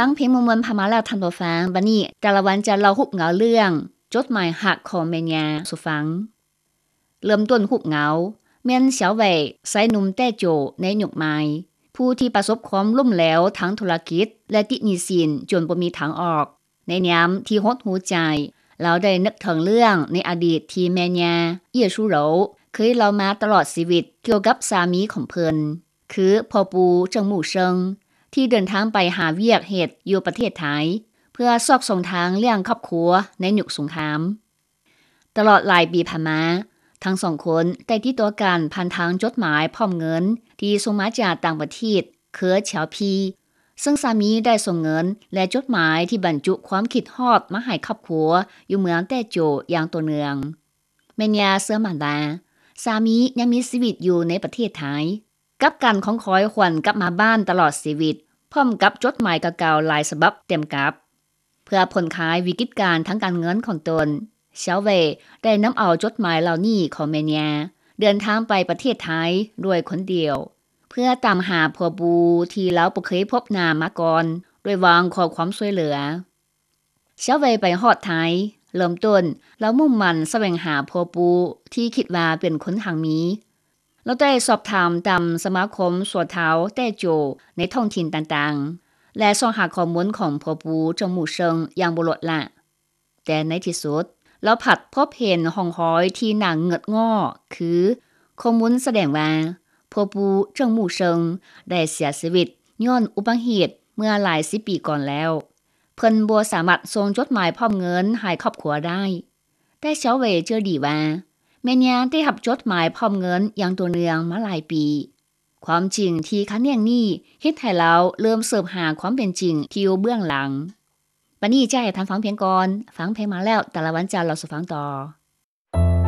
ຟັງເພງມ່ວນໆຜ່ານມາແລ້ວທ່ານຜູ້ຟັງ, ບັດນີ້ຕາລະວັນຈະເລົ່າຮູບເງົາເລື່ອງ ຈົດໝາຍຮັກຂອງແມ່ຍ່າສູ່ຟັງ. ເລີ່ມຕົ້ນຮູບເງົາ ແມ່ນສຽວເຫວີຍ ຊາຍໜຸ່ມແຕ້ໂຈວໃນຍຸກໃໝ່ ຜູ້ທີ່ປະສົບຄວາມລົ້ມເຫຼວທາງທຸລະກິດ ແລະ ຕິດໜີ້ສິນຈົນບໍ່ມີທາງອອກ. ໃນຍາມທີ່ຫົດຫູໃຈ, ລາວໄດ້ນຶກເຖິງເລື່ອງໃນອະດີດທີ່ແມ່ຍ່າ ເອີຍຊູໂຣ ເຄີຍເລົ່າມາຕະຫຼອດຊີວິດກ່ຽວກັບສາມີຂອງເພິ່ນ ຄືພໍ່ປູ່ ເຈິງມູເຊິງ ທີ່ເດີນທາງໄປຫາວຽກເຮັດຢູ່ປະເທດໄທ ເພື່ອຊອກຊ່ອງທາງລ້ຽງຄອບຄົວໃນຍຸກສົງຄາມ. ຕະຫຼອດຫຼາຍປີຜ່ານມາ, ທັງສອງຄົນໄດ້ຕິດຕໍ່ກັນຜ່ານທາງຈົດໝາຍພ້ອມເງິນທີ່ສົ່ງມາຈາກຕ່າງປະເທດ ເຄືອ ເຈລພີ ເຊິ່ງສາມີໄດ້ສົ່ງເງິນ ແລະ ຈົດໝາຍທີ່ບັນຈຸຄວາມຄິດຮອດມາໃຫ້ຄອບຄົວຢູ່ເມືອງແຕ້ໂຈວຢ່າງຕໍ່ເນື່ອງ. ແມ່ຍ່າເຊື່ອໝັ້ນວ່າ ສາມີຍັງມີຊີວິດຢູ່ໃນປະເທດໄທ ກັບການຄອງຄອຍຫວນກັບມາບ້ານຕະຫຼອດຊີວິດ ພ້ອມກັບຈົດໝາຍເກົ່າໆຫຼາຍສະບັບເຕັມກັບ. ເພື່ອຜ່ອນຄາຍວິກິດການທາງການເງິນຂອງຕົນ, ສຽວເຫວີຍ ໄດ້ນຳເອົາຈົດໝາຍເຫຼົ່ານີ້ຂອງແມ່ຍ່າ ເດີນທາງໄປປະເທດໄທດ້ວຍຄົນດຽວ ເພື່ອຕາມຫາພໍ່ປູ່ທີ່ລາວບໍ່ເຄີຍພົບໜ້າມາກ່ອນ ໂດຍຫວັງຂໍຄວາມຊ່ວຍເຫຼືອ. ສຽວເຫວີຍໄປຮອດໄທ, ເລີ່ມຕົ້ນລາວມຸ່ງໝັ້ນສະແຫວງຫາພໍ່ປູ່ທີ່ຄິດວ່າເປັນຄົນຮັ່ງມີ. ລາວໄດ້ສອບຖາມຕາມສະມາຄົມຊົ່ວຄາວແຕ້ໂຈວໃນທ້ອງຖິ່ນຕ່າງໆ ແລະ ຊອກຫາຂໍ້ມູນຂອງພໍ່ປູ່ ເຈິງມູເຊິງ ຢ່າງບໍ່ລົດລະ. ແຕ່ໃນທີ່ສຸດ, ລາວພັດພົບເຫັນຮ່ອງຮອຍທີ່ໜ້າເງືອດງໍ້ ຄື ຂໍ້ມູນສະແດງວ່າ ພໍ່ປູ່ ເຈິງມູເຊິງ ໄດ້ເສຍຊີວິດຍ້ອນອຸບັດຕິເຫດເມື່ອຫຼາຍສິບປີກ່ອນແລ້ວ. ເພິ່ນບໍ່ສາມາດສົ່ງຈົດໝາຍພ້ອມເງິນໃຫ້ຄອບຄົວໄດ້. ແຕ່ສຽວເຫວີຍເຈີດີວ່າ ແມ່ຍ່າໄດ້ຮັບຈົດໝາຍພ້ອມເງິນຢ່າງຕໍ່ເນື່ອງມາຫຼາຍປີ. ຄວາມຈິງທີ່ຂັດແຍ່ງນີ້ເຮັດໃຫ້ລາວເລີ່ມສືບຫາຄວາມເປັນຈິງທີ່ຢູ່ເບື້ອງຫຼັງ. ບັດນີ້ຈະໃຫ້ທ່ານຟັງພຽງກ່ອນ, ຟັງເພງມາແລ້ວ ຕາລະວັນຈະເລົ່າສູ່ຟັງຕໍ່.